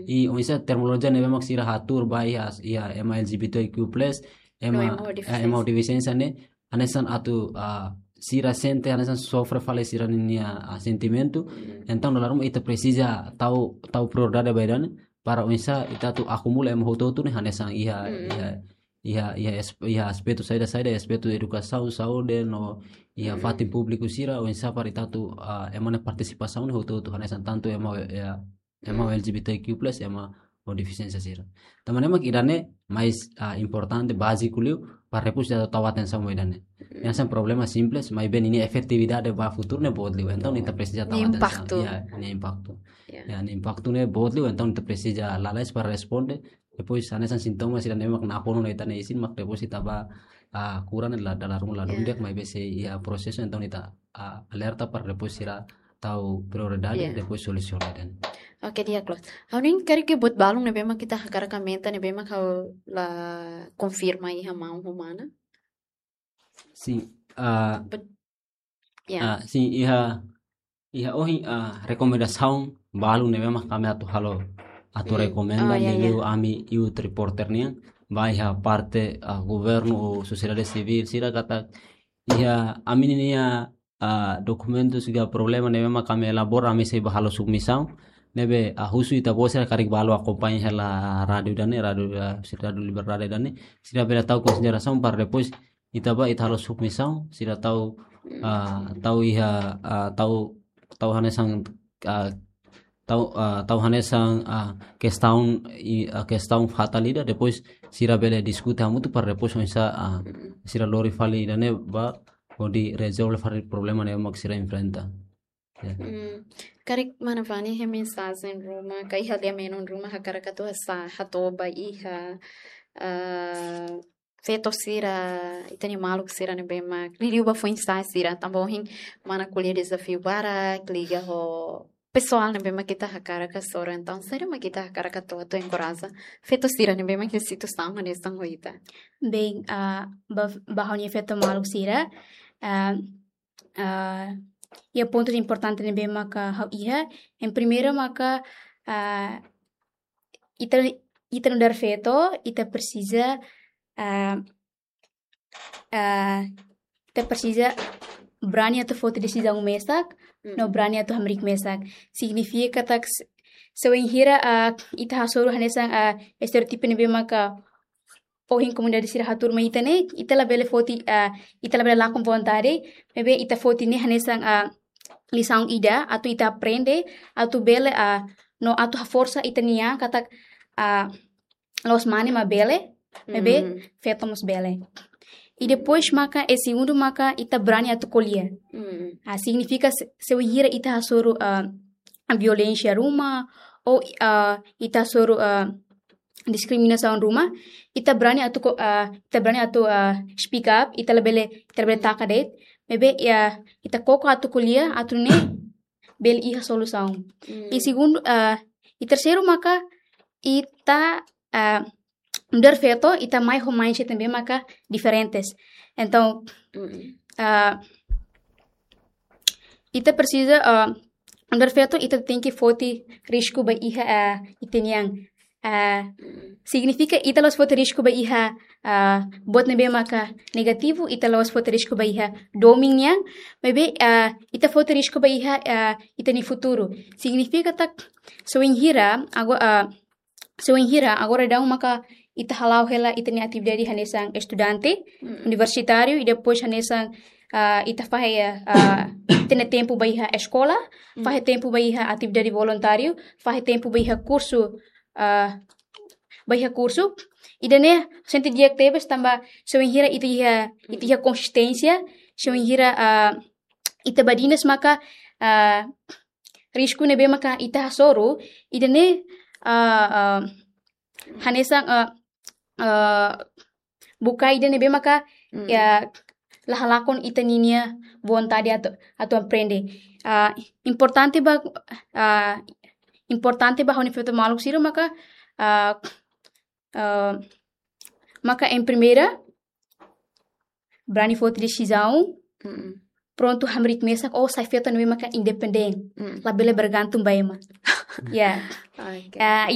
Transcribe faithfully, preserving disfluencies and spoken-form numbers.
i oinsá terminolojia ne'ebé mak sira hatuur ba iha, iha ema L G B T Q plus, ema, ema ho defisiénsia ne'e, hanesan atu, ah, sira sente hanesan sofre fali sira-nia, ah, sentimentu. Entaun dala ruma ita presiza tau, tau prioridade ba ida-ne'e, para oinsá ita atu akumula ema hotu-hotu ne'e hanesan iha, iha, iha, iha, es-, iha aspetu saida-saida, aspetu edukasaun, saúde, no iha fatin públiku sira, oinsá para ita atu, ah, ema nia partisipasaun ne'e hotu-hotu hanesan tantu ema, iha, ema L G B T Q plus, ema ho defisiénsia sira. Tanba ne'e mak ida-ne'e mais, ah, importante, báziku liu, para depois ita tau atensaun ba ida-ne'e. Hanesan problema simples, maibé ninia efetividade ba futuru ne'e boot liu. Entaun ita presiza tau atensaun. Impaktu. Ya, nia impaktu. Ya, nia impaktu ne'e boot liu, entaun ita presiza lalais para responde. Depois, hanesan sintoma sira ne'e mak nakonu ona ita-nia isin, mak depois ita ba, ah, kura ne'e la, dala ruma ladún di'ak, maibé sei iha prosesu, entaun ita, ah, alerta para depois sira tau prioridade, depois solusiona ida-ne'e. Oke, di'ak loos. Ha'u hanoin karik buat balun ne'ebé mak ita hakarak aumenta, ne'ebé mak ha'u la konfirma iha maun ho mana. Sin, ah, ah, sin, iha, iha ohin, ah, rekomendasaun balu ne'ebé mak ami atu halo, atu rekomenda, liuliu ami youth reporter nian, ba iha parte, ah, governu ou sosiedade sivíl sira katak iha ami-nia, ah, dokumentu sira problema ne'ebé mak ami elabora, ami sei ba halo submisaun, ne'ebé, ah, husu ita-boot sira karik balu akompaña hela rádiu ida-ne'e, rádiu, ah, sira Rádiu Liberdade ida-ne'e, sira bele tau konsiderasaun para depois ita ba, ita halo submisaun, sira tau, ah, tau iha, ah, tau, tau hanesan, ah, tau, ah, tau hanesan, ah, kestaun, i, ah, kestaun fatal ida, depois sira bele diskute hamutuk para depois oinsá, ah, sira lori fali ida-ne'e ba hodi rezolve fali problema ne'ebé mak sira enfrenta. Ya. Hmm, karik mana Vani iha mensajen ruma, ka iha liamenon ruma hakarak atu hasa'e, hato'o ba iha, ah, feto sira, ita-nia maluk sira ne'ebé mak liuliu ba foin-sa'e sira, tanba ohin mana ko'alia dezafiu barak liga ho pesoál ne'ebé mak ita hakarak hasoru, entaun saida mak ita hakarak atu, atu enkoraja feto sira ne'ebé mak iha situasaun hanesan ho ita. Bem, ah, ba, ba ha'u-nia feto maluk sira, ah, ah, iha pontus importante ne'ebé maka ha'u iha, em primeiro maka, ah, ita, ita nu'udar feto, ita presiza, ah, ah, ita presiza brani atu foti desizaun mesak, no brani atu hamriik mesak. Signifika katak se, se wainhira, ah, ita hasoru hanesan, ah, estereótipu ne'ebé maka ohin komunidade sira hatuur mai ita ne'e, ita labele foti, ah, ita labele lakon vontade, maibé ita foti ne'e hanesan, ah, lisaun ida, atu ita aprende, atu bele, ah, no atu haforsa ita-nia an katak, ah, la'ós mane mak bele, maibé feto mós bele. I depois maka, e segundu maka, ita brani atu ko'alia. Ah, signifika se, se wainhira ita hasoru, ah, violénsia ruma, ou, ah, ita hasoru, ah, diskriminasaun ruma, ita brani atu ko-, ah, ita brani atu, ah, speak up, ita labele, ita labele taka de'it, maibé, ya, ita koko atu ko'alia, atu nune'e bele iha solusaun. I segundu, ah, i terseiru maka ita, ah, nu'udar feto, ita mai ho mindset ne'ebé maka diferentes. Entaun, ah, ita presiza, ah, nu'udar feto, ita tenke foti risku ba iha, ah, ita-nia an. Ah, signifika ita la'ós foti risku ba iha, ah, buat ne'ebé maka negativu, ita la'ós foti risku ba iha domin nian, maibé, ah, ita foti risku ba iha, ah, ita-nia futuru. Signifika katak, se wainhira, ago-, ah, se wainhira, agora daudaun maka ita hala'o hela ita-nia atividade hanesan estudante, universitáriu, i depois hanesan, ah, ita fahe, ah, ita-nia tempu ba iha eskola, fahe tempu ba iha atividade voluntáriu, fahe tempu ba iha kursu, ah, ba iha kursu. Ida-ne'e sente di'ak tebes tanba se wainhira ita iha, ita iha konsisténsia, se wainhira, ah, ita badinas maka, ah, risku ne'ebé maka ita hasoru, ida-ne'e, ah, ah, hanesan, ah, ah, buka ida ne'ebé maka, ya, la halakon ita-nia vontade atu, atu aprende. Ah, importante ba, ah, importante ba ha'u-nia feto maluk sira maka, ah, ah, maka em primeira, brani foti desizaun, prontu hamriik mesak, ou sai feto ne'ebé maka independente, labele bergantung ba ema. Ya. Oke. Ah,